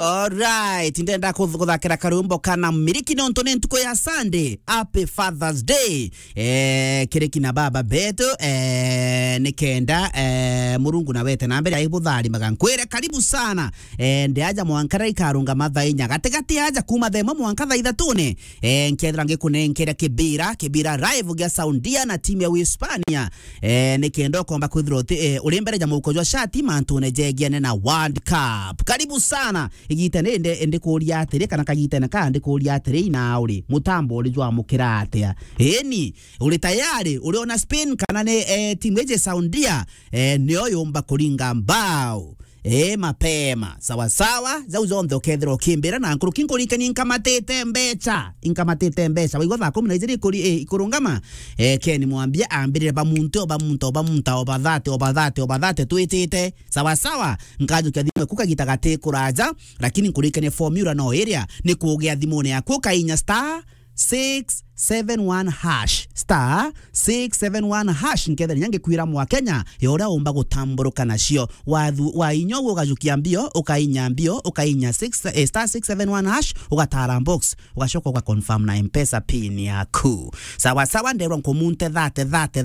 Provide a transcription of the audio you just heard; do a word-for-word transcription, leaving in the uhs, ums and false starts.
Alright, ndenda kuth-, kuthakira karwimbo kana Miriki nontu ni ntuku ya Sunday. Happy Father's Day. Eh, kiri kina baba betu, eh, nikenda, eh, Murungu na wete na mbere aibutharimaga. Nkwire karibu sana. Eh, ndi aja mwanka ria ikarungama thaa inya. Gatigati aja kuma thaa imwe mwanka thaa ithatune. Eh, nkethira ngikunenkera kibira, kibira live gia Saudia na timu ya Uhispania. Eh, nikenda ukomba kwithirwa uti, eh, uri mbere ja muhuko jwa shati mantune jegiane na World Cup. Karibu sana. Igita ni ndi, ndikuria atiri, kana kagitene ka ndikuria atiri, ina uri mutambo uri jwamukira atia? Eni, uri tayari? Uri ona Spain kana ni, eh, timu iji Saudia, eh, nio yumba kuringa mbao? Eh, mapema. Sawa sawa, jau jonthe ukethirwa ukimbira na nkuruki nkuririkanie inkamatite mbecha. Inkamatite mbecha. Waigua thaa kumi na ijiri ikuri-, eh, ikurungama. Eh, Ken Mwambia ambirire bamunte, o bamunta, o bamunta, o bathate, o bathate, o bathate, twitite. Sawa sawa, nkajukia thimu eku kagita gati kuraja, lakini nkuririkanie formula no iria, ni kugia thimune yaku ukainya star six seven one hash, star six seven one hash, nkethira inya ngikwira mwa Kenya, ya uria umba gutamburuka nacio. Wathu-, wainya uguo ugajukia mbio, ukainya mbio, ukainya six, eh, star six seven one hash, ugatara box, ugacoka ugaconfirm na M-Pesa pin yaku. Sawa sawa, nderwa nkumunte thate, thate,